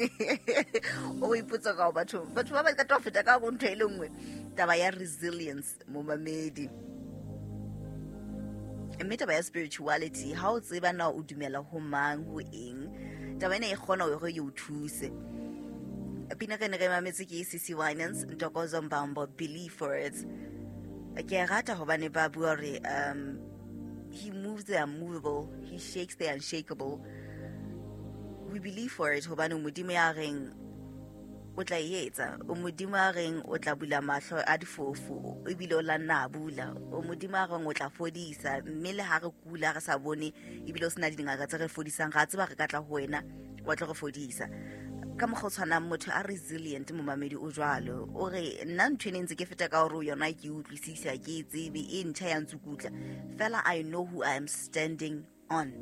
O ipotsa ka batho, batho ba ba ka tlo feta ka go ntho e le nngwe, taba ya resilience, momamedi. Mme taba ya spirituality, ha o tseba na o dumela ho mang, ho eng, taba ena e kgona hore e o thuse. Pina re ne re mametse ke CC Winans, Ntokozo Mbambo, Believe for It. Ke a rata hobane ba bua hore he moves the unmovable, he shakes the unshakable. We believe for it hobane Modimo ya reng o tla e etsa, o Modimo a reng o tla bula mahlo a difofu ebile o la nna a bula, o Modimo a reng o tla fodisa, mme le ha re kula re sa bone ebile o sena dingaka tse re fodisang, ga tseba re ka tla ho wena wa tlo re fodisa. Ka mokgwa o tshwanang motho a resilient, momamedi, o jwalo, o re nna ntho e ne ntse ke feta ka hore yona ke utlwisisa, ke e tsebe, e ntjha ya ntsukutla fela. I know who I am standing on,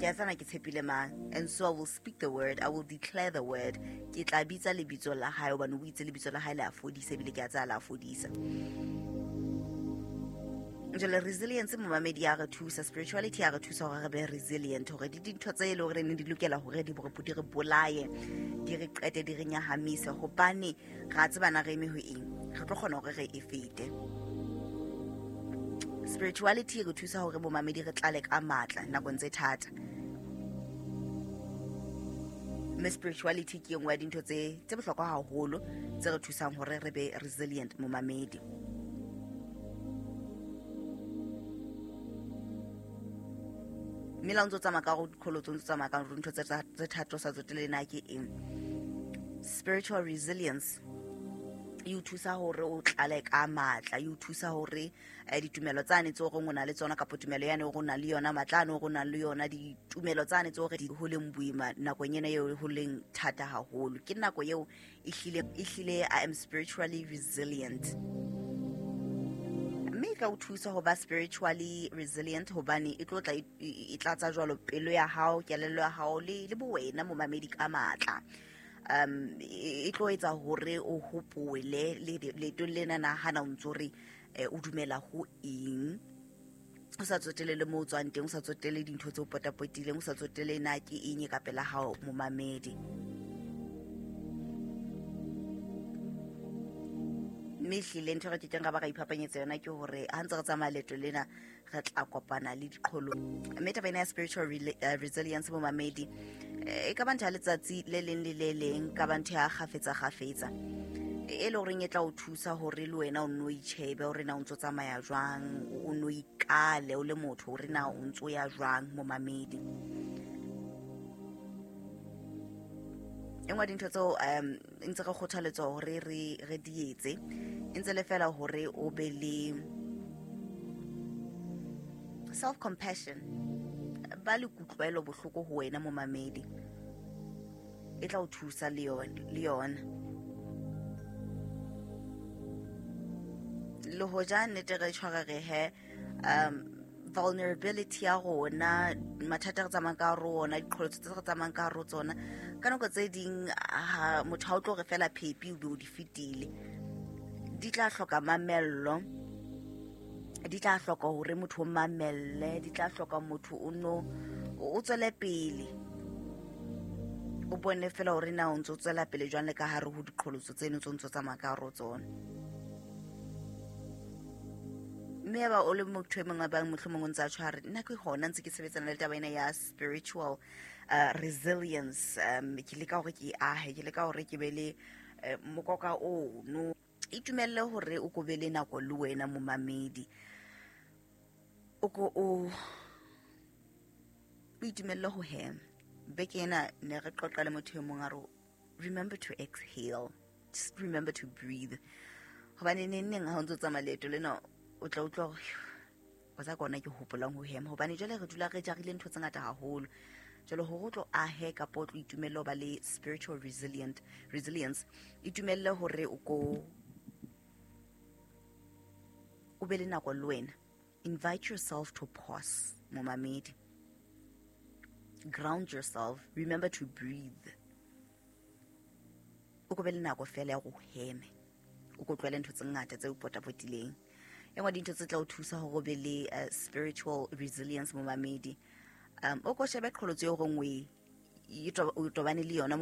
ke a tsana ke tshepile mang, and so I will speak the word, I will declare the word. Ke tla bitsa lebitso la hae hobane o itse lebitso la hae le a fodisa, ebile ke a tsaya la fodisa. Jwale resilience, momamedi, ya re thusa. Spirituality ya re thusa hore re be resilient, hore di dintho tse e le hore ne di lokela hore di re bolaye, di re qete, di re nyahamise, hobane ra tsebana re eme ho eng, re tlo kgona hore re e fete. Spirituality re thusa hore, bomamedi, re tlale ka matla nakong tse thata, mme spirituality ke e nngwe ya dintho tse bohlokwa haholo tse re thusang hore re be resilient, momamedi. Mme la o ntse o tsamaya ka go dikgolo, o ntse o tsamaya ka ntho tse thata, o sa tsotele na ke eng, spiritual resilience e o thusa hore o tlale ka matla, e o thusa hore ditumelo tsane tse goreng o na le tsona, kapa tumelo yane o nang le yona, matla ane o nang le yona, ditumelo tsane tse gore ho leng boima nakong ena eo ho leng thata haholo, ke nako eo ehlile I am spiritually resilient. Mme e tla o thusa ho ba spiritually resilient hobane e tlo tla e tlatsa jwalo pelo ya hao, kelello ya hao le bowena, momamedi, ka matla. E tlo etsa hore o hopole leetong lena na hana o ntso re o dumela ho eng, o sa tsotele le mo o tswang teng, o sa tsotele dintho tse o potapotileng, o sa tsotele na ke eng e ka pela hao, momamedi. Mme ehlile ntho e re kekeng ra ba ra iphapanyetsa yona ke hore ha ntse re tsamaya leeto lena, re tla kopana le diqholo. Mme taba ena ya spiritual resilience, momamedi, e ka ba ntho ya letsatsi le leng le le leng, ka ba ntho ya kgafetsa kgafetsa e le goreng e tla o thusa hore le wena o nno itjhebe hore na o ntso tsamaya jwang, o nno ikale o le motho hore na o ntso ya jwang, momamedi. E nngwe dintho tseo ntse re kgothaletswa hore re di etse e ntse le fela hore o be le self compassion, ba le kutlwelo bohloko ho wena, momamedi. E tla o thusa le yona, le hoja nnete re tshware re he vulnerability ya rona, mathata re tsamayang ka rona, diqholotso tse re tsamayang ka hare tsona, ka nako tse ding ha motho ha o tlo re fela phepi o be o di fetile. Di tla hloka mamello, di tla hloka hore motho o mamelle, di tla hloka motho o no o tswele pele, o bone fela hore na o ntso tswela pele jwang le ka hare ho diqholotso tseno tse o ntso tsamaya ka hare ho tsona. Mme ya ba o le motho e mongwe bang mohlomong o ntse a tshware, nna ke hona ntse ke sebetsana le taba ena ya spiritual resilience, ke leka hore ke ahe, ke leka hore ke be le mokoka ono. Itumelle hore o ko be le nako le wena, momamedi, o ko o itumelle ho hema. Beke ena ne re qoqa le motho e mong, a re remember to exhale, just remember to breathe, hobane neng neng ha o ntso tsamaya leeto lena o tla utlwa hore o tsa kona ke hopolang ho hema, hobane jwale re dula re jarile ntho tse ngata haholo. Jwale hore o tlo ahe kapa o tlo itumelle ho ba le spiritual resilience, itumelle hore o ko o be le nako le wena. Invite yourself to pause, momamedi. Ground yourself, remember to breathe, o ko be le nako fela ya go heme, o ko tlohele ntho tse ngata tse o potapotileng. E nngwe dintho tse tla o thusa hore o be le spiritual resilience, momamedi, o ko shebe qholotso eo goreng o tobane le yona.